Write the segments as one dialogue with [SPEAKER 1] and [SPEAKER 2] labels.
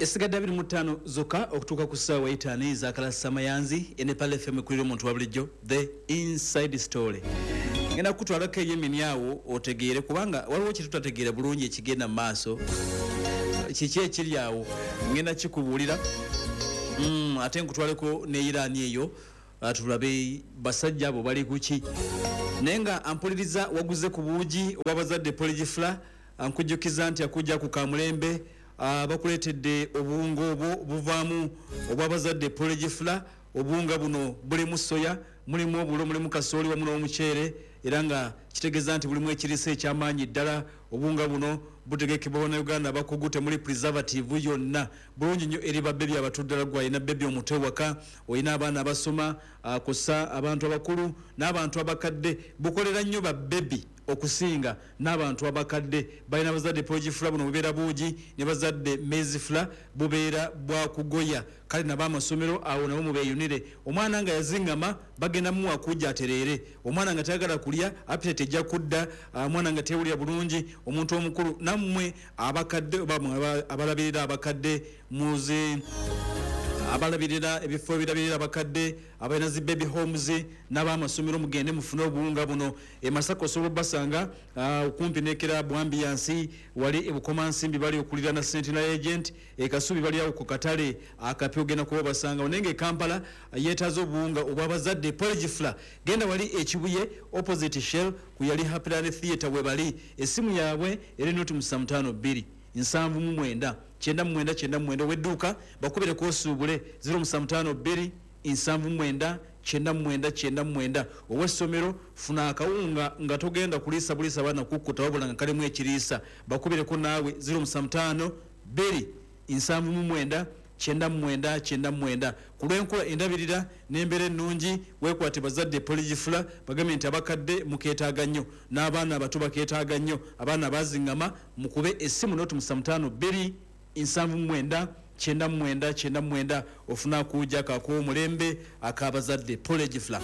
[SPEAKER 1] Esigadde 25 zokka okutuuka ku ssaawa 5 ez'akalasamayanzi. Ene Pearl FM ekulira omuntu wa bulijjo, The Inside Story. Ngenda kukutwalako eyemini awo otegeere, kubanga waliwo kyetutategeera bulungi ekigenda mu maaso. Kiki ekiri awo? Ngenda kikubuulira. Ate nkutwaleko ne Iran eyo, tulabe basajja abo bali kuki. Naye nga ampuliriza, waguze ku buugi obwabazadde porridge flour, nkujjukiza nti akujja ku kamulembe, bakuleetedde obuwunga obwo buvaamu obwabazadde porridge flour. Obuwunga buno bulimu soya, mulimu obulo, mulimu kasooli wamu n'omuceere, era nga kitegeeza nti bulimu ekiriisa ekyamaanyi ddala. Obuwunga buno butegekebwa Bannayuganda abakugu, temuli preservative yonna, bulungi nnyo eri babebi abato ddala. Gwe alina bebi omuto ewaka, olina abaana abasoma, kussa abantu abakulu n'abantu abakadde, bukolera nnyo babebi okusinga n'abantu abakadde. Balina bazadde porridge flour, buno bubeera buugi, ne bazadde maize flour, bubeera bwakugoya. Kale nabo amasomero awo nabo mubeeyunire. Omwana nga yaziŋŋama, bagenda muwa kujja atereere. Omwana nga tayagala kulya, appetite ejja kudda. Omwana nga tewulira bulungi, omuntu omukulu, nammwe abakadde oba abalabirira abakadde, muze abalabirira ebifo ebirabirira abakadde, abalina zi baby homes n'abamasomero, mugende mufune obuwunga buno. E Masaka osobola obbasanga okumpi ne Club Ambiance, wali e Bukomansimbi bali okulirana Sentinel Agent, e Kasubi bali awo ku katale akapya, ogenda kuba obasanga. Naye nga e Kampala yeetaaza obuwunga obwabazadde porridge flour, genda wali Ekibuye opposite Shell ku yali Happyland Theatre we bali. Essimu yaabwe eri 075 79 99 99. Ow'edduuka bakubireko osuubule 0752 79 99 99. Ow'essomero, funa akawunga nga togenda kuliisa buliisa baana kukkuta, wabula nga kalimu ekiriisa. Bakubireko naawe 075 2 79 99 99. Ku lw'enkola endabirira n'embeera ennungi, weekwate bazadde porridge flour. Bagambye nti abakadde mukeetaaga nnyo, n'abaana abato bakeetaaga nnyo. Abaana baziŋŋama, mukube essimu 075 2 79 99 99, ofune akuuja kakuwa omulembe ak'abazadde porridge flour.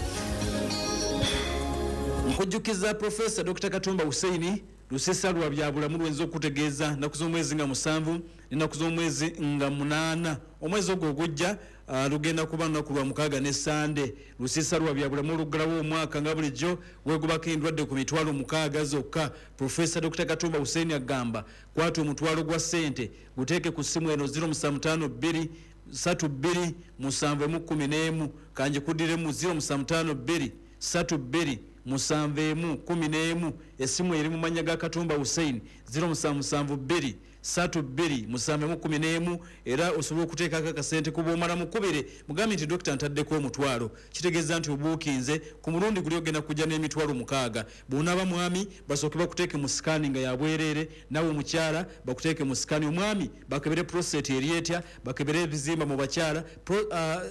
[SPEAKER 1] Nkujjukiza Profesa Dr Katumba Huseini, lusisa lwa byabulamu lwenza okutegeeza nnaku z'omwezi nga 7 n'ennaku z'omwezi nga 8 omwezi ogwo ogujja. Lugenda kuba lunaku lwa mukaaga ne Sande. Lusisa lwa byabulamu oluggalawo omwaka nga bulijjo, wegubako endwadde ku 60,000 zokka. Profesa Dr Katumba Huseini agamba kwata omutwalo gwa ssente, guteeke ku ssimu eno 0752 32 7 11. Kanjikuddiremu, 0752 32 7 11. Essimu eri mu mannya ga Katumba Hussein, 0772 32 7 11. Era osobola okuteekako akasente ku bwomala, mukubire mugambe nti, "Dokita, ntaddeko omutwalo." Kitegeeza nti obuukinze ku mulundi guli ogenda kujja n'emitwalo 60. Bw'onaaba mwami, basooke bakuteeke mu scan nga yabwereere, nawe omukyala bakuteeke mu scan. Omwami bakebere prostate eri etya, bakebere ebizimba mu bakyala.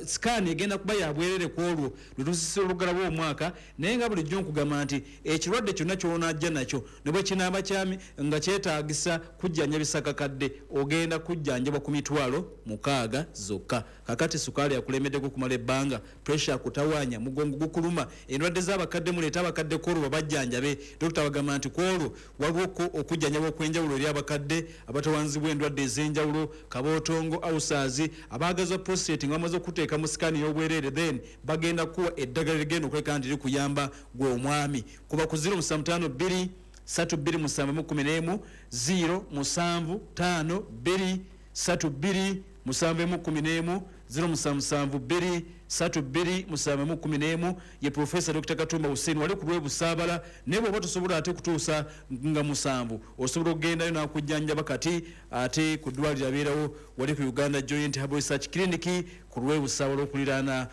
[SPEAKER 1] Scan egenda kuba yabwereere ku olwo lwe tusisira olugalawo omwaka. Naye nga bulijjo nkugamba nti ekirwadde kyonna ky'onaajja nakyo, ne bwe kinaaba kyami nga kyetaagisa kujjanjabisa kakadde, ogenda kujjanjabwa ku 60,000 zokka. Kakati sukaali akulemeddeko okumala ebbanga, pressure akutawaanya, mugongo gukuluma, endwadde z'abakadde, muleete abakadde kwolwo babajjanjabe. Dokita bagamba nti kwolwo waliwo okujjanjaba okw'enjawulo eri abakadde abatawanzibwa endwadde ez'enjawulo, kabootongo, ulcers, abaagazwa prostate. Nga bamaze okuteeka mu scan y'obwereere, then bagenda kuwa eddagala ligenda okuleka nti likuyamba. Gwe omwami, kuba ku 0752 32 7 11, 0 7 5 2 3 2 7 11, 0772 3 2 7 11. Ye Profesa Dr Katumba Hussein, wali ku lwebusaabala. Naye bw'oba tosobola ate kutuusa nga 7, osobola okugendayo n'akujjanjaba kati ate ku ddwaliro abeerawo wali ku Uganda Joint Herbal Research Clinic ku lwebusaabala okuliraana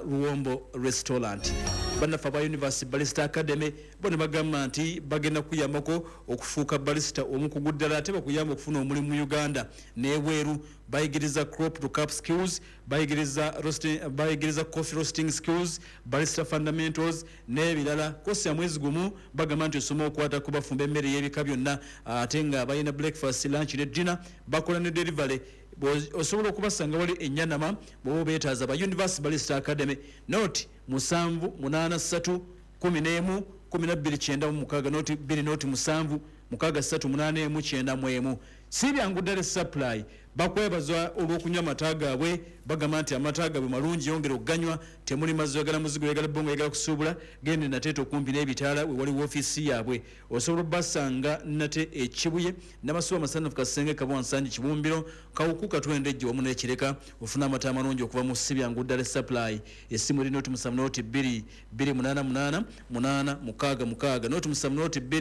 [SPEAKER 1] Luwombo Restaurant. Bannaffe aba University Barista Academy bo ne bagamba nti bagenda kuyambako okufuuka barista omukugu ddala, ate bakuyamba okufuna omulimu mu Uganda n'ebweru. Bayigiriza crop to cup skills, bayigiriza roasting, bayigiriza coffee roasting skills, barista fundamentals n'ebirala. Kosi ya mwezi gumu, bagamba nti osoma okwata ku bafumba emmere y'ebika byonna, ate nga balina breakfast, lunch ne dinner, bakola ne delivery. Osobola okubasanga wali enyanama bwoba obeetaaza. Ba University Barista Academy, 0 7 8 3 11 12 96, 0 2 0 7 6 3 8 1 91. Si byangu ddala supply. Bakwebaza olw'okunywa amata gaabwe, bagamba nti amata gaabwe malungi, yongera okuganywa, temuli mazzi, oyagala muzigo, oyagala bongo, oyagala kusuubula, gende Nateete okumpi n'ebitaala we wali woofiisi yaabwe. Osobola obbasanga nate e Kibuye, Namasuba, Masanafu, Kasenge, Kabwa, Nsangi, Kibumbiro, Kawuku, Katwendejje wamu n'Ekireka. Ofuna amata amalungi okuva mu Sibyangu Dairy Supply. Essimu eri 070 2 288 866, 070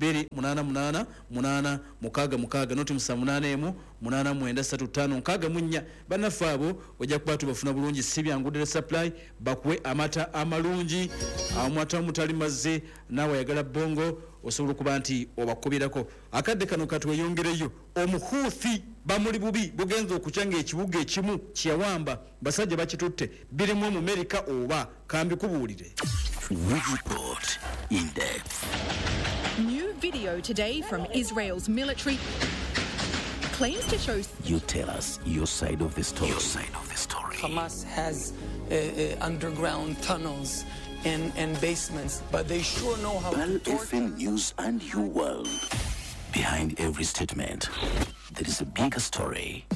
[SPEAKER 1] 2 288 866, 0781 89 35 64. Bannaffe abo ojja kuba tubafuna bulungi. Sibyangu Dairy Supply bakuwe amata amalungi, amata omutali mazzi. Naawe ayagala bongo osobola okuba nti obakubirako. Akadde kano katweyongereyo. Omuhuuthi bamuli bubi, bugenza okukya ng'ekibuga ekimu kyeyawamba basajja bakitutte, birimu Omumerika oba kambikubuulire.
[SPEAKER 2] We report in depth.
[SPEAKER 3] New video today from Israel's military claims to show
[SPEAKER 2] You tell us your side of the story. Your side of the story.
[SPEAKER 4] Hamas has underground tunnels and basements, but they sure know how
[SPEAKER 2] Pearl
[SPEAKER 4] to torture.
[SPEAKER 2] FM News and your world. Behind every statement, there is a bigger story.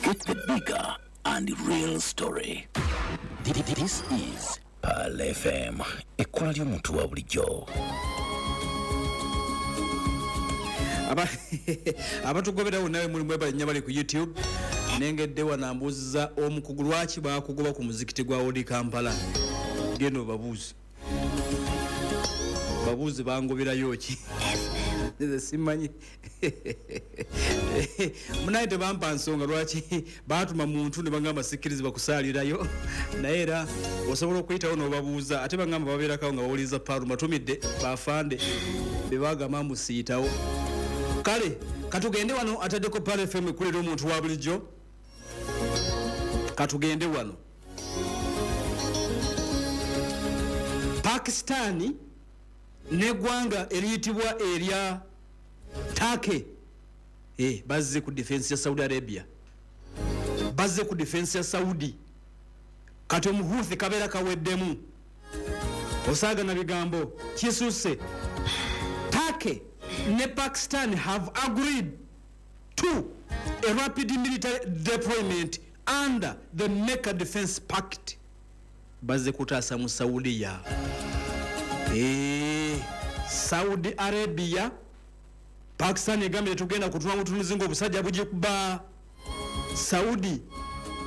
[SPEAKER 2] Get the bigger and real story. This is Pearl FM. Ekkula ly'omuntu wa bulijjo.
[SPEAKER 1] Abatugoberawo nawe mulimu ebalinya bali ku YouTube. Nengedde wanambuuziza omukugu lwaki bakugoba ku muzikiti gwa Old Kampala. Genda obabuuze, babuuze bangoberayo ki, nze simanyi. Munaye tebampa nsonga lwaki batuma muntu ne bagamba sikkirizibwa kusaalirayo, naye era osobola okuyitawo n'obabuuza. Ate bagamba babeerakawo nga bawuliriza Paalu matumidde bafande be bagamba musiiyitawo. Kale katugende wano ataddeko Pearl FM ekulira omuntu wa bulijjo. Katugende wano Pakistani neggwanga eriyitibwa erya Turkey bazze ku defense ya Saudi Arabia, bazze ku defense ya Saudi. Kati omuhuthi kabeera kaweddemu, osaaga na bigambo kisuse. Turkey ne Pakistan have agreed to a rapid military deployment under the Mecca Defense Pact. Bazze kutaasa mu Saudiya, Saudi Arabia. Pakistan egambye tetugenda kutuna butunuzi ng'obusajja bugikuba Saudi.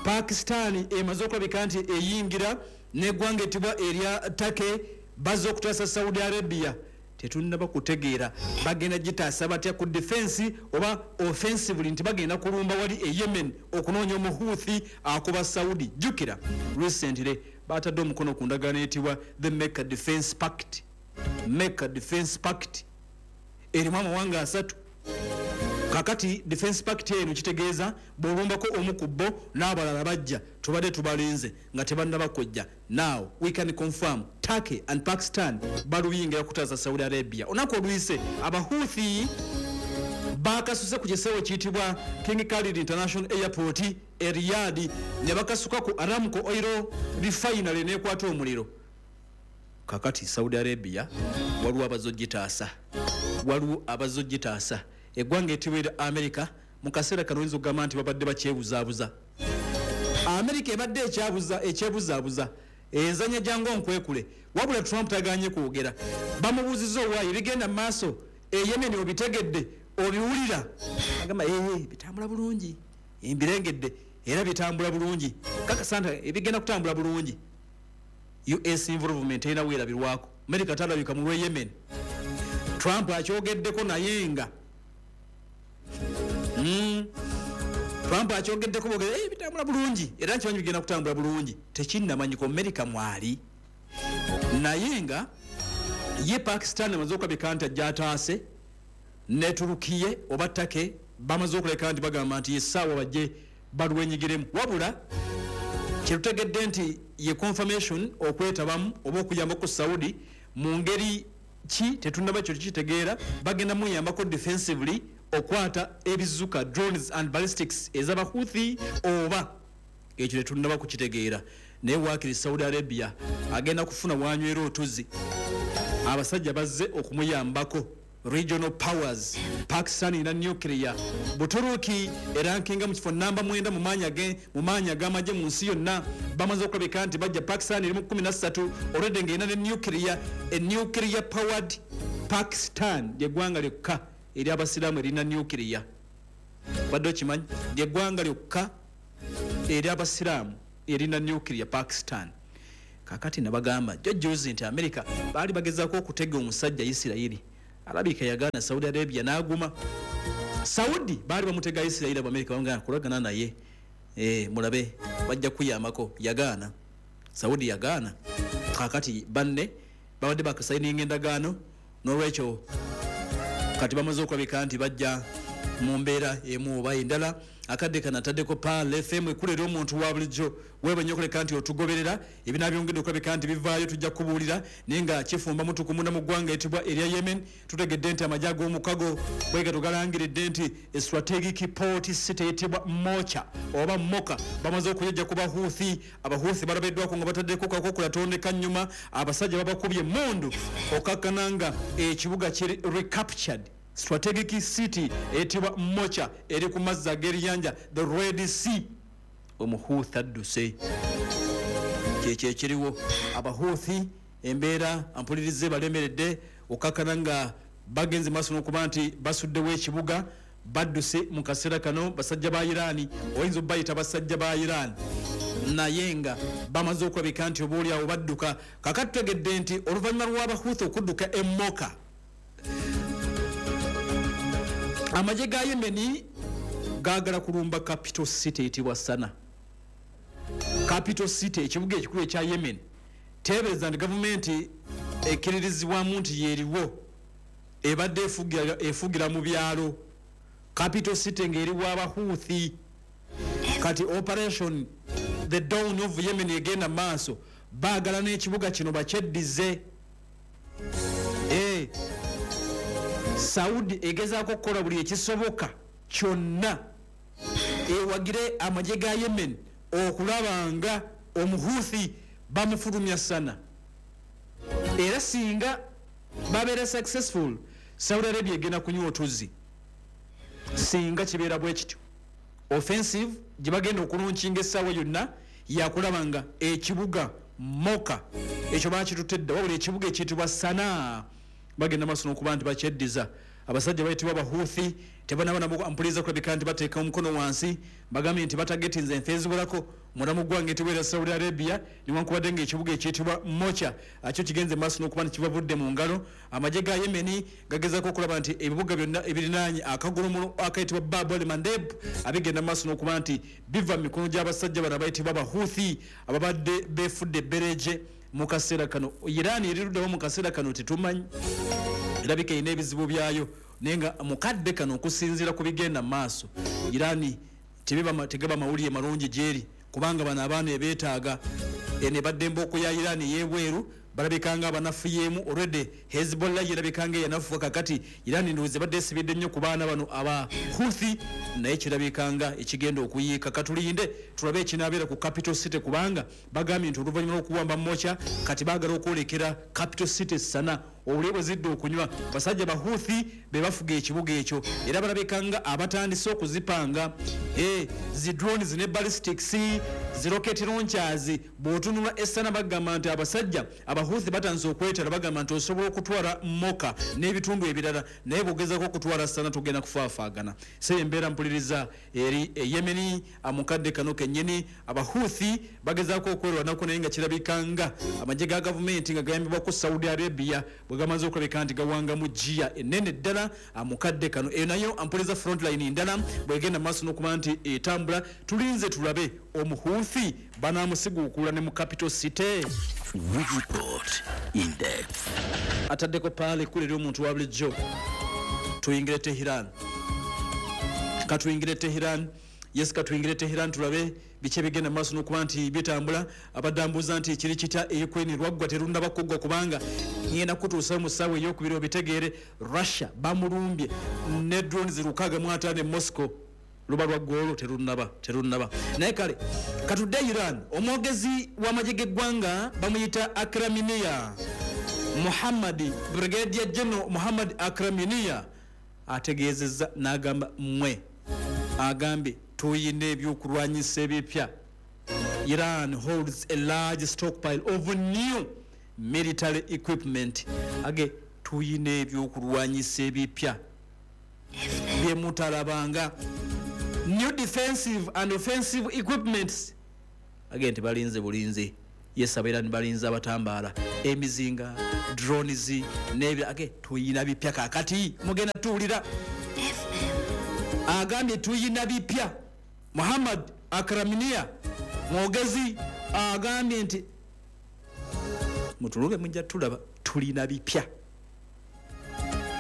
[SPEAKER 1] Pakistan emaze okulabika nti eyingira neggwanga etibwa erya Turkey, bazze okutaasa Saudi Arabia. Tetunnaba kutegeera bagenda gitaasa batya, ku defense oba offensively, nti bagenda kulumba wali e Yemen okunoonya omuhuthi akuba Saudi. Jjukira recently batadde omukono ku ndagaano eyitibwa the Mecca Defense Pact. Mecca Defense Pact erimu amawanga 3. Kakati defense pact eno kitegeeza bw'olumbako omu ku bo n'abalala bajja, tubadde tubalinze nga tebannaba kujja. Now we can confirm Turkey and Pakistan baluyingira kutaasa Saudi Arabia. Olunaku oluyise abahuthi bakasuse ku kisewo kiyitibwa King Khalid International Airport e Riyadh, ne bakasuka ku Aramco Oil Refinery nekwata omuliro. Kakati Saudi Arabia waliwo abazogitaasa, waliwo abazogitaasa. Eggwanga etibwera America mu kaseera kano oyinza okugamba nti babadde bakyebuzaabuza. America ebadde ekyebuzaabuza, enzanya jangu onkwekule, wabula Trump tagaanye kwogera. Bamubuuzizza owaayo ebigenda mu maaso e Yemen obitegedde, obiwulira? Agamba bitambula bulungi, mbirengedde era bitambula bulungi, kakasa nti ebigenda kutambula bulungi. US involvement erina weerabirwako, America talabika mu lw'e Yemen. Trump akyogeddeko, naye nga Trump akyogeddeko bogera bitambula bulungi era nkimanyi bigenda kutambula bulungi, tekinnamanyika America mwali. Naye nga ye Pakistan amaze okulabika nti ajja ataase ne Turukiye oba Turkey, bamaze okuleka nti bagamba nti essaawa bajje balwenyigiremu. Wabula kyetutegedde nti ye confirmation okwetabamu oba okuyamba ku Saudi mu ngeri ki tetunnaba kyo tukitegeera. Bagenda muyambako defensively okwata ebizuka drones and ballistics ez'abahuthi oba ekyo tetunnaba kukitegeera. Naye waakiri Saudi Arabia agenda kufuna wanywera otuzi, abasajja bazze okumuyambako. Regional powers, Pakistan erina nuclear, Buturuki erankinga mu kifo namba 9 mu maanyi ag'amagye mu nsi yonna. Bamaze okulabika nti bajja. Pakistan eri mu 13 already ng'erina ne nuclear, a nuclear powered Pakistan. Lyeggwanga lyokka eri abasiraamu erina nuclear. Badde okimanyi? Lyeggwanga lyokka eri abasiraamu erina nuclear, Pakistan. Kakati nabagamba jjojjuzi nti America baali bagezaako okutega omusajja Isirayiri, alabika yagaana, Saudi Arabia n'aguma. Saudi baali bamutega Isirayiri, Abamerika bamugamba kulagana naye, mulabe bajja kuyambako, yagaana. Saudi yagaana. Kakati banne babadde bakasayininga endagaano, n'olwekyo kati bamaze okulabika nti bajja mu mbeera emu oba endala. Akadde kano ataddeko Pearl FM, ekulera omuntu wa bulijjo. Weeba nnyo okuleka nti otugoberera. Ebinabyongedde okulabika nti bivaayo tujja kubuulira, naye nga kifumba mutukumunda mu ggwanga etibwa erya Yemen. Tutegedde nti amagye ag'omukago bwegato galangiridde nti strategic port city eyitibwa Mocha oba Moka bamaze okuyejja ku Bahuthi. Abahuthi balabiddwako nga bataddeko kakokola nnyuma, abasajja babakubye emmundu okakkana nga ekibuga kiri recaptured. Strategic city eyitibwa Mocha eri ku mazzi ag'eriyanja the Red Sea. Omuhuthi adduse, kyekyo ekiriwo. Abahuthi embeera ampulirize balemeredde okakkana nga bagenze maaso n'okuba nti basuddewo ekibuga, badduse mu kaseera kano. Basajja ba Iraani, oyinza obayita basajja ba Iraani, naye nga bamaze okulabika nti obaoliawo badduka. Kakati tutegedde nti oluvannyuma lw'abahuthi okudduka emmoka, amagye ga Yemeni gaagala kulumba capital city eyitibwa Sana. Capital city, ekibuga ekikulu ekya Yemen. Teebereza nti gavumenti ekkiririzibwamu nti yeeriwo ebadde efugira mu byalo, capital city ng'eriwo Abahuthi. Kati operation the Dawn of Yemen egenda maaso, baagala n'ekibuga kino bakyeddize. Saudi egezaako okukola buli ekisoboka kyonna ewagire amagye ga Yemen okulaba nga omuhuthi bamufulumya Sana. Era singa babeera successful, Saudi Arabia egenda kunywa otuzzi singa kibeera bwe kityo. Offensive gye bagenda okulaunchinga essaawa yonna yakulaba nga ekibuga Moka ekyo bakitutedde, wabula ekibuga ekiyitibwa Sana bagenda maaso n'okuba nti bakyeddiza. Abasajja bayitibwa Abahuthi tebanaba nabo mpuliza kulabika nti bateeka omukono wansi. Bagambye nti batagetinze enfe eziwerako munda mu ggwanga etibwa Saudi Arabia, newankubadde ng'ekibuga ekiyitibwa Mocha akyo kigenze maaso n'okuba nti kibavudde mu ngalo. Amagye ga Yemeni gagezaako okulaba nti ebibuga byonna ebirinaanye akagolomolo akayitibwa Bab el Mandeb abigenda maaso n'okuba nti biva mu mikono gy'abasajja bano abayitibwa Abahuthi ababadde beefudde ebbereje mu kaseera kano. Iran eriruddawo mu kaseera kano tetumanyi, erabika erina ebizibu byayo, naye nga mukadde kano okusinziira ku bigenda mu maaso Iran tegaba mawulire malungi gyeri, kubanga bano abaana ebeetaaga eno ebadde embooko ya Iran ey'ebweru balabika nga abanafuyeemu already. Hezbollah yerabika nga eyanafuka. Kakati Iran ndowooza ebadde esibidde nnyo ku baana bano aba Houthi, naye kirabika nga ekigenda okuyiika. Katulinde tulabe ekinaabeera ku capital city, kubanga bagambye nti oluvannyuma lw'okuwamba Mocha kati baagala okwolekera capital city Sana. Obuli bwe zidde okunywa, basajja Bahuthi be bafuga ekibuga ekyo, era balabika nga abatandise okuzipanga zi drones ne ballistics, zi rocket launchers. Bw'otunula essana bagamba nti abasajja Abahuthi batandise okwetala, bagamba nti osobola okutwala Moka n'ebitundu ebirala, naye bw'ogezako okutwala Sana tugenda kufaafaagana. Se embeera mpuliriza eri Yemeni mukadde kano kennyini. Abahuthi bagezaako okwerwanako, naye nga kirabika nga amagye ga gavumenti nga gayambibwako Saudi Arabia bwe gamaze okulabika nti gawangamu giya ennene ddala mukadde kano. Eyo nayo ampuliza frontline ndala bwegenda maaso n'okuba nti etambula. Tulinze tulabe omuhuthi banaamusiguukula ne mu capital city.
[SPEAKER 2] We report in depth.
[SPEAKER 1] Ataddeko paala ekkulu eri omuntu wa bulijjo. Tuyingire Teheran, katuyingire Teheran. Yes, katuyingire Teheran tulabe biki ebigenda maaso n'okuba nti bitambula. Abadde ambuuza nti kiri kitya e Ukraine, lwaggwa terundaba kuggwa, kubanga ngenda kutuusa mu ssaawa eyokubiri obitegeere. Russia bamulumbye ne drones 650 e Moscow. Luba lwaggwa olwo terunaba, naye kale katudde Iran. Omwogezi w'amagye g'eggwanga bamuyita Akraminiya Muhammad, Brigadier General Muhammad Akraminiya ategeezezza n'agamba mmwe, agambye tuyina ebyokulwanyisa ebipya. Iran holds a large stockpile of new military equipment. Age tuyina ebyokulwanyisa ebipya byemutalabanga, new defensive and offensive equipments. Age nti balinze bulinzi, yes, abairani balinze abatambaala emizinga, drones n'ebyo. Age tuyina bipya kakati mugenda tuwulira. Agambye tuyina bipya. Muhammad Akraminiya mwogezi agambye nti mutulube mujja tulaba tulina bipya.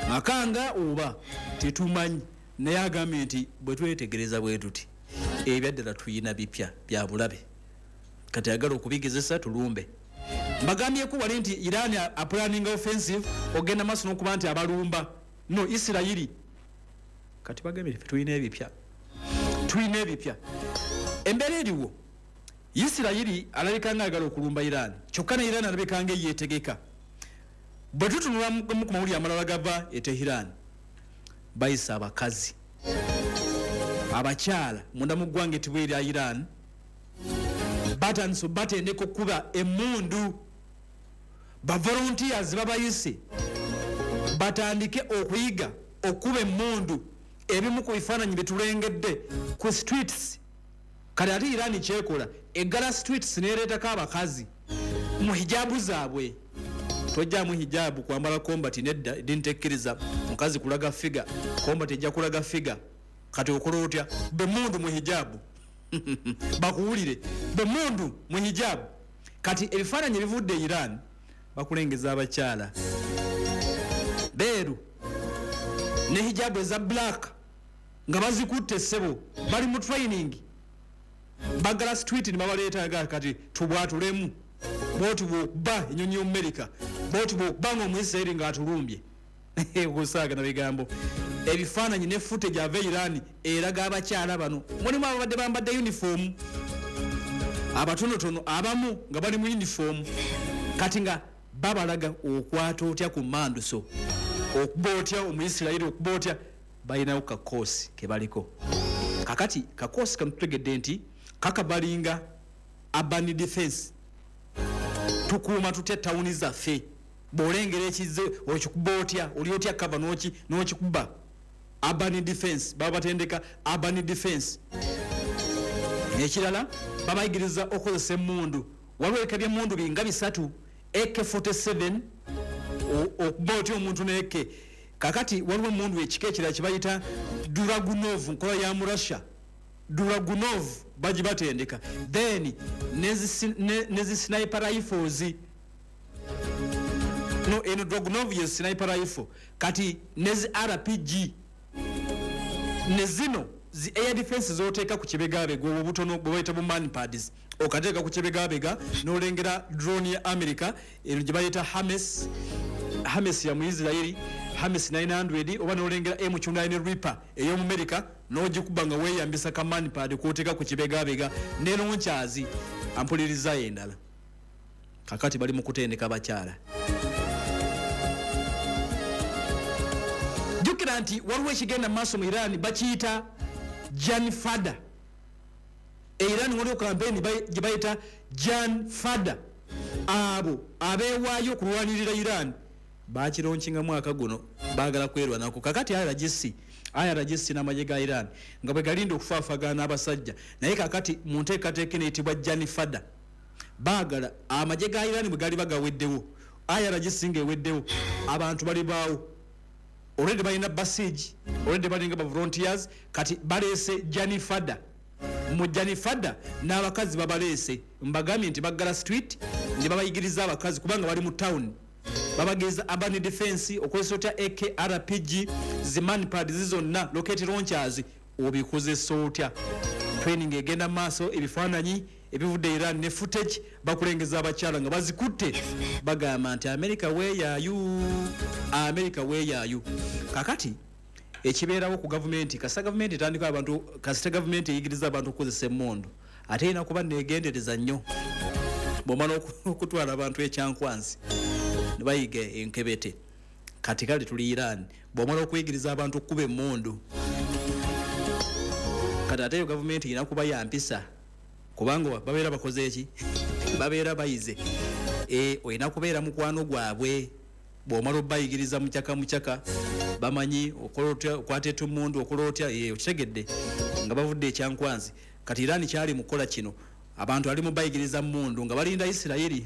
[SPEAKER 1] Makanga oba tetumanyi, naye agambye nti bwe twetegereza bwe tuti ebyaddala tuyina bipya bya bulabe, kati ayagala okubigezesa tulumbe. Mbagambyeko wali nti Iran aplanning offensive ogenda maaso n'okuba nti abalumba no Isirayiri. Kati bagambye ffe tulina ebipya, tulina ebipya. Embeera eriwo, Isirayiri alabika nga ayagala okulumba Iran, kyokka ne Iran alabika nga yeetegeka. Bwe tutunula mu ku mawulire amalala gava e Tehran, bayisa abakazi abakyala munda mu ggwanga etibwa erya Iran, batandise batendeka okukuba emmundu. Ba volunteers babayise batandike okuyiga okukuba emmundu. Ebimu ku bifaananyi bye tulengedde ku streets. Kati ate Iran kyekola, eggala streets neereetako abakazi mu hijabu zaabwe. Tojjamu hijabu kwambala combat, nedda, eddiini tekkiriza mukazi kulaga figure, combat ejja kulaga figure. Kati okola otya? Bemundu mu hijabu bakuwulire, bemundu mu hijabu. Kati ebifaananyi ebivudde e Iran bakulengeza abakyala beeru ne hijabu eza black nga bazikutte essebo, bali mu training, bagala street ne babaleeta. Kati tubwatulemu bwoti bwokuba enyonyi y'Omumerika, bwoti bwokuba nga Omuisirairi ng'atulumbye. Kusaaga na bigambo. Ebifaananyi ne footage ava Iran eraga abakyala bano, mulimu ababadde bambadde uniform abatonotono, abamu nga bali mu uniform, kati nga babalaga okwata otya ku manduso, okuba otya Omuisirairi, okuba otya. Balinawo kakoosi ke baliko kakati. Kakoosi kano tutegedde nti kakabalinga urban defense, tukuuma tutya tawuni zaffe, bw'olengera ekizze okikuba otya, oli otya kava n'okikuba. Urban defense, baba batendeka urban defense. Ekirala babayigiriza okukozesa emmundu. Waliwo ebika by'emmundu binga bisatu: AK47, okuba otya omuntu ne AK. Kakati waliwo emundu ekika ekirala kibayita Dragunov, nkola ya mu Russia, Dragunov bagibatendeka. Then nezi sniper rifles. No, eno Dragunov ye sniper rifle. Kati nezi RPG ne zino zi air defense zoteeka ku kibegabega, obwo obutono bwe bayita bu manpads, okateeka ku kibegabega n'olengera drone ya America eno gye bayita Hermes, Hermes ya mu Israeli, Hermes 900, oba n'olengera M9 Reaper ey'omu America n'ogikuba nga weeyambisa ka manpad k'oteeka ku kibegabega ne launchers. Ampulirizayo endala, kakati bali mu kutendeka abakyala. Jjukira nti waliwo ekigenda mu maaso mu Iran bakiyita Janfada. E Iran waliwo kampeyini gye bayita Janfada, abo abeewaayo okulwanirira Iran. Bakilaunchinga mwaka guno, baagala kwerwanako. Kakati IRGC, IRGC n'amagye ga Iran nga bwe galinda okufaafagana n'abasajja, naye kakati mu nteekateeka eno eyitibwa Janfada baagala amagye ga Iran bwe galiba gaweddewo, IRGC ng'eweddewo, abantu bali baawo already balina Basij, already balinga ba volunteers. Kati baleese Janifada. Mu Janifada n'abakazi babaleese. Mbagambye nti baggala street ne babayigiriza abakazi kubanga bali mu town, babageza urban defense, okozesa otya AK, RPG, zi manpad zonna, rocket launchers obikozesa otya. Training egenda maaso. Ebifaananyi ebivudde Iran ne footage bakulengeza abakyala nga bazikutte, bagamba nti America weeyaayu, America weeyaayu. Kakati ekibeerawo ku gavumenti, kasita gavumenti etandika abantu, kasita gavumenti eyigiriza abantu okukozesa emmundu, ate erina kuba neegendereza nnyo. Bw'omala okutwala abantu ekyankwanzi, Ne bayiga enkebete. Kati kale tuli Iran, bw'omala okuyigiriza abantu okukuba emmundu, kati ate eyo gavumenti erina kuba yampisa, kubanga babeera bakoze eki? Babeera bayize. Olina kubeera mukwano gwabwe. Bw'omala obayigiriza mucyaka mucyaka, bamanyi okola otya, okwata etumundu, okola otya. Okitegedde nga bavudde ekyankwanzi. Kati Iran kyali mukukola kino, abantu ali mubayigiriza mundu nga balinda Isirayiri.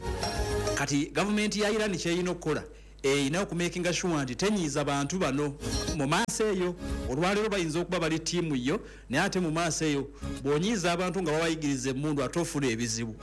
[SPEAKER 1] Kati gavumenti ya Iran kyerina okukola, erina okumakinga sure nti tenyiiza bantu bano mu maaso eyo. Olwaleero bayinza okuba bali ttiimu yo, naye ate mu maaso eyo bw'onyiiza abantu nga babayigiriza emundu, ate ofuna ebizibu.